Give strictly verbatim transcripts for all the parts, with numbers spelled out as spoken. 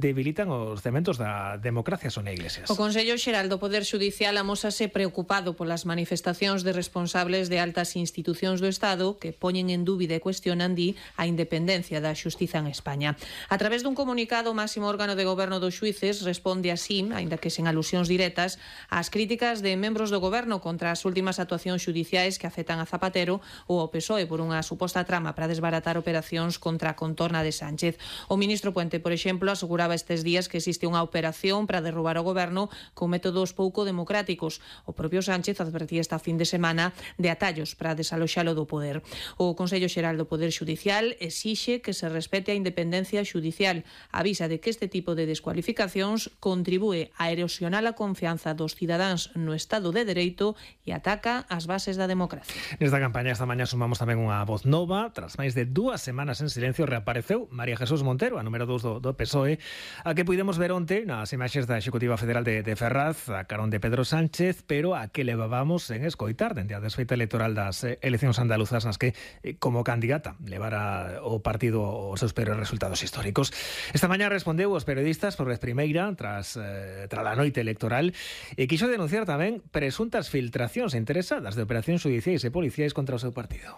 debilitan os cementos da democracia, Sonia Iglesias. O Consello Xeral do Poder Xudicial amósase preocupado polas manifestacións de responsables de altas institucións do Estado que poñen en dúbida e cuestionan, di, a independencia da xustiza en España. A través dun comunicado, o máximo órgano de goberno dos xuíces responde así, aínda que sen alusións directas, ás críticas de membros do goberno contra as últimas actuacións xudiciais que afectan a Zapatero ou ao P S O E por unha suposta trama para desbaratar operacións contra a contorna de Sánchez. O ministro Puente, por exemplo, aseguraba estes días que existe unha operación para derrubar o goberno con métodos pouco democráticos. O propio Sánchez advertía esta fin de semana de atallos para desaloxalo do poder. O Consello Xeral do Poder Xudicial exixe que se respete a independencia xudicial. Avisa de que este tipo de descualificacións contribúe a erosionar a confianza dos cidadáns no Estado de Dereito e ataca as bases da democracia. Nesta campaña esta mañá sumamos tamén unha voz nova. Tras máis de dúas semanas en silencio reapareceu María Jesús Montero, a número dous do, do P S O E, a que pudemos ver onte nas imaxes da Executiva Federal de, de Ferraz, a carón de Pedro Sánchez, pero a que levábamos en escoitar dende a desfeita electoral das eleccións andaluzas nas que, como candidata, levara o partido os seus peores resultados históricos. Esta mañá respondeu aos periodistas por vez primeira tras, eh, tras a noite electoral e quixo denunciar tamén presuntas filtracións interesadas de operacións judiciais e policiais contra o seu partido.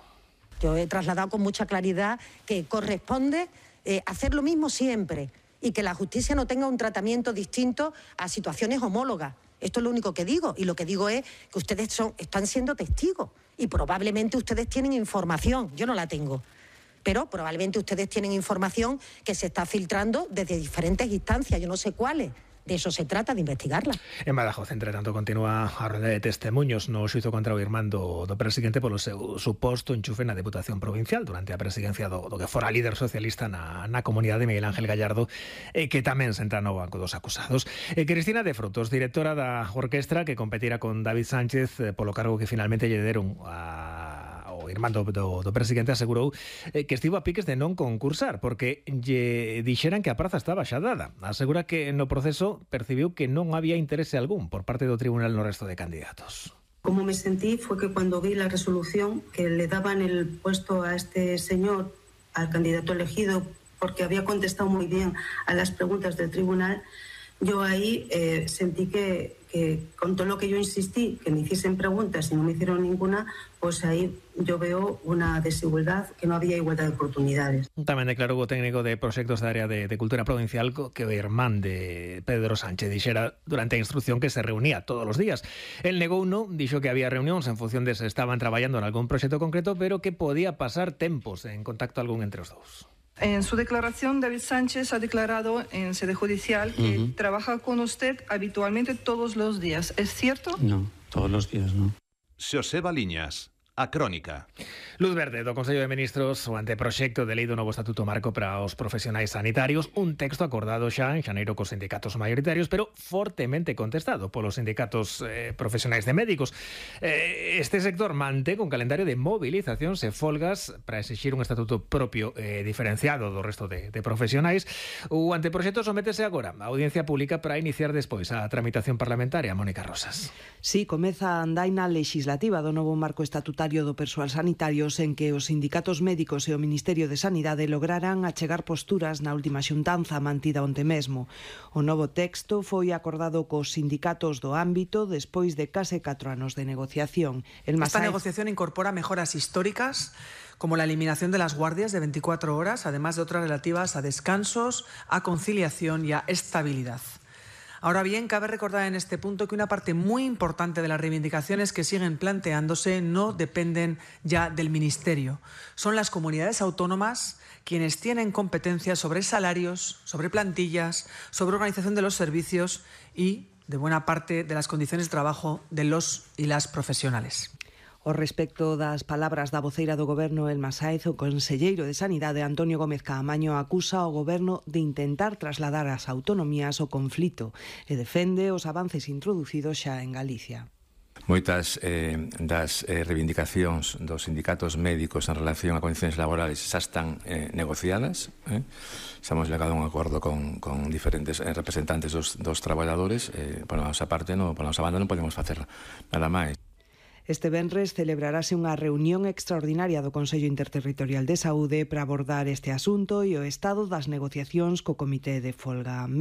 Yo he trasladado con mucha claridad que corresponde eh, hacer lo mismo siempre y que la justicia no tenga un tratamiento distinto a situaciones homólogas. Esto es lo único que digo, y lo que digo es que ustedes son, están siendo testigos y probablemente ustedes tienen información, yo no la tengo, pero probablemente ustedes tienen información que se está filtrando desde diferentes instancias, yo no sé cuáles. De eso se trata, de investigarla. En Badajoz, entre tanto, continúa a rolda de testemunhos no xuízo contra o irmán do, do presidente polo seu suposto enchufe na Deputación Provincial durante a presidencia do, do que fora líder socialista na, na comunidade, Miguel Ángel Gallardo, eh, que tamén senta no banco dos acusados. Eh, Cristina de Frutos, directora da orquestra que competira con David Sánchez eh, polo cargo que finalmente lle deron a o irmán do, do, do presidente, asegurou eh, que estivo a piques de non concursar porque lle dixeran que a praza estaba xa dada. Asegura que no proceso percibiu que non había interese algún por parte do tribunal no resto de candidatos. Como me sentí fue que cuando vi la resolución que le daban el puesto a este señor, al candidato elegido, porque había contestado muy bien a las preguntas del tribunal, yo ahí eh, sentí que, que con todo lo que yo insistí, que me hiciesen preguntas y no me hicieron ninguna, pues ahí yo veo una desigualdad, que no había igualdad de oportunidades. Tamén declarou o técnico de proxectos da área de, de cultura provincial que o irmán de Pedro Sánchez dixera durante a instrucción que se reunía todos os días. El negou no, dixo que había reunións en función de se estaban traballando en algún proxecto concreto, pero que podía pasar tempos en contacto algún entre os dous. En su declaración, David Sánchez ha declarado en sede judicial que uh-huh. trabaja con usted habitualmente todos los días. ¿Es cierto? No, todos los días no. Xosé Baliñas, a Crónica. Luz verde do Consello de Ministros o anteproxecto de lei do novo Estatuto Marco para os profesionais sanitarios, un texto acordado xa en xaneiro cos sindicatos maioritarios, pero fortemente contestado polos sindicatos eh, profesionais de médicos. Eh, este sector mantén un calendario de movilizacións e folgas para exixir un estatuto propio eh, diferenciado do resto de, de profesionais. O anteproxecto sométese agora a audiencia pública para iniciar despois a tramitación parlamentaria. Mónica Rosas. Sí, comeza a andaina legislativa do novo marco estatutario do persoal sanitarios en que os sindicatos médicos e o Ministerio de Sanidade lograran achegar posturas na última xuntanza mantida onte mesmo. O novo texto foi acordado cos sindicatos do ámbito despois de case catro anos de negociación. El Esta negociación incorpora mejoras históricas como la eliminación de las guardias de veinticuatro horas, además de otras relativas a descansos, a conciliación y a estabilidad. Ahora bien, cabe recordar en este punto que una parte muy importante de las reivindicaciones que siguen planteándose no dependen ya del Ministerio. Son las comunidades autónomas quienes tienen competencias sobre salarios, sobre plantillas, sobre organización de los servicios y de buena parte de las condiciones de trabajo de los y las profesionales. O respecto das palabras da voceira do Goberno, Elma Sáez, o conselleiro de Sanidade, Antonio Gómez Caamaño, acusa ao Goberno de intentar trasladar ás autonomías o conflito e defende os avances introducidos xa en Galicia. Moitas eh, das eh, reivindicacións dos sindicatos médicos en relación a condicións laborales xa están eh, negociadas. Eh? Xa hemos llegado a un acordo con, con diferentes eh, representantes dos, dos traballadores. Eh, por a nosa parte, no, por a nosa banda non podemos facer nada máis. Este venres celebrarase unha reunión extraordinaria do Consello Interterritorial de Saúde para abordar este asunto e o estado das negociacións co Comité de Folga.